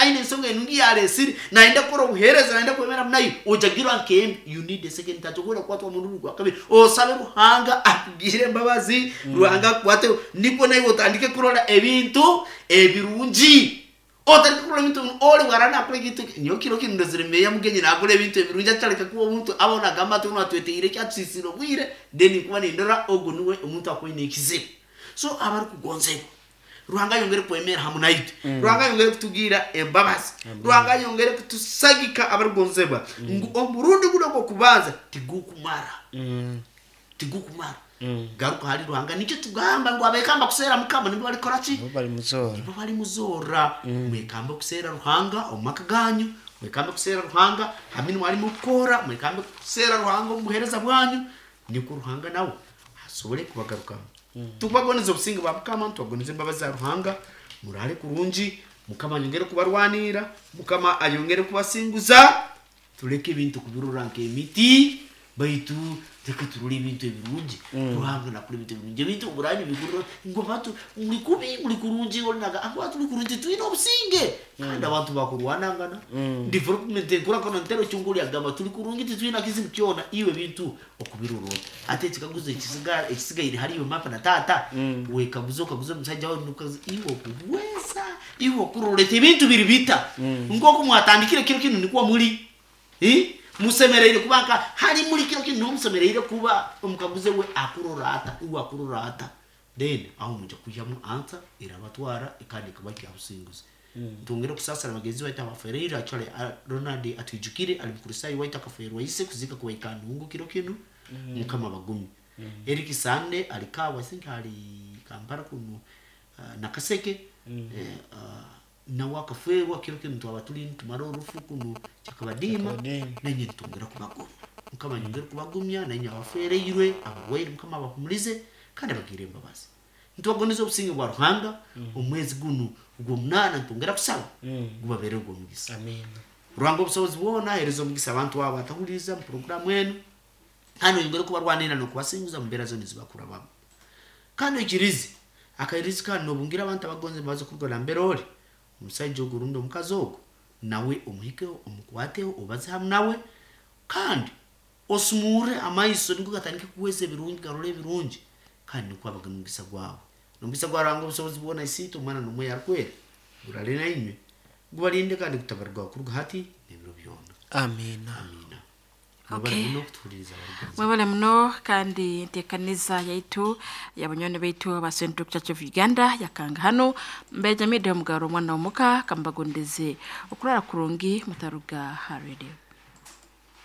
Aine ensonga enungi yalesire, nayenda kukora obuhereza, nayenda kwemera nayo, ojagirwa nkembi. You need a second touch. Okwenda kukwatwa omurundi gwa kabiri, osabe Ruhanga akugire embabazi, Ruhanga akukwate, nikwo naiwe otandike kurora ebintu ebirungi. Otandike kurora ebintu ebirungi. Oli bwaraba nakora ekintu eki, nyowe kiro kinu ndozire meya Mugenyi nakora ebintu ebirungi, ataleka kuba omuntu aba nagamba ati onu atweteire ki, atusisire obwire, then nkuba nindora ogu nuwe omuntu akuba aine ekizibu. So abarukugonzebwa, Ruhanga ayongere kwemera hamu naitwe. Ruhanga ayongere kutugira embabazi. Ruhanga ayongere kutusagika abarukugonzebwa, ngu omurundi gunu ogw'okubanza tigukumara. Tigukumara. Garuka hali Ruhanga. Nikyo tugamba ngu abekamba kuseera Mukama nibo balikora ki? Nibo balimuzoora. Nibo balimuzoora. Mwekambe kuseera Ruhanga omu maka ganyu, mwekambe kuseera Ruhanga ha mirimo alimu kukora, mwekambe kuseera Ruhanga omu buheereza bwanyu, nikwo Ruhanga nawe asobole kubagarukamu. Tukubagondeza obusinge bwa Mukama, ntubagondeza embabazi za Ruhanga, muraale kurungi, Mukama ayongere kubarwanirra, Mukama ayongere kubasinguza. Tuleke ebintu kubirora nk'emiti, baitu leka turole ebintu ebirungi. Ruhanga nakora ebintu ebirungi. Ebintu oburaabe nibigurira ngu abantu muli kubi, muli kurungi, oli nagamba ngu abantu tuli kurungi, titwine obusinge. Kandi abantu bakurwanangana, development enkurakana ntero kyonka oli agamba tuli kurungi titwine kizibu kyona, iwe ebintu okubirora ota? Hati ekikaguzo ekisigaire hali iwe maama na taata, wekaguze okaguze omusaija wawe nokaguza iwe okuhweza, iwe okurora oti ebintu biri bita? Nk'oku mwatandikire kiro kinu nikwo muli. Musemeriire kuba nka hali muli kiro kinu niho musemeriire kuba, omukaguze we akurora ata, iwe akurora ata? Then aho mwija kwihamu answer erabatwara kandi ekabahikya ha businguzi. Ntwongere kusaasira bagenzi baitu abafereire, actually Ronald atwijukire ali Mukristaayo waitu akaferwa ise kuziika kuba Ikanungu kiro kinu, Mukama abagumye. Eric Sande ali Kawa, I think ali Kampala kunu Nakaseke, nawe akaferwa kiro kinu twaba tuli nitumara orufu kunu Kyakabadiima, nainywe nitwongera kubagumya. Mukama ayongere kubagumya, nainywe abafereirwe, abarwaire Mukama abahumulize kandi abagirre embabazi. Nitubagondeza obusinge bwa Ruhanga, omwezi gunu ogw'omunaana nitwongera kusaba gubabeere ogw'omugisa. Ruhanga obusobozi bwona ahereze omugisa abantu abo abatahuliiriza mu puroguramu enu, kandi oyongere kubarwanirra n'okubasinguza mu mbeera zoona ezibakurabamu. Kandi oikirize akairizi kanu n'obungira abantu abagonza embabazi kuruga nambere oli, omusaija ogu rundi omukazi ogu, nawe omuhikeho, omukwateho, obaze hamu nawe, kandi osumurre amaiso nukwo gatandike kuhweza ebirungi, garole ebirungi, kandi nukwo abe omugisa gwawe. Nomugisa gwa Ruhanga obusobozi bwona Isiitwe, Omwana n'Omwoyo Arukwera gurale nainywe, gubalinde kandi gutabarugaho kuruga hati n'ebiro byona. Amiina. Amiina. Mwebale muno kutuhuliriza abarugonzebwa. Mwebale muno kandi entekaniza yaitu yabanywani baitu aba Central Church of Uganda yakanga hanu. Mbeja Media omugaro omwana omuka kambagondeze okurara kurungi mutaruga ha radio.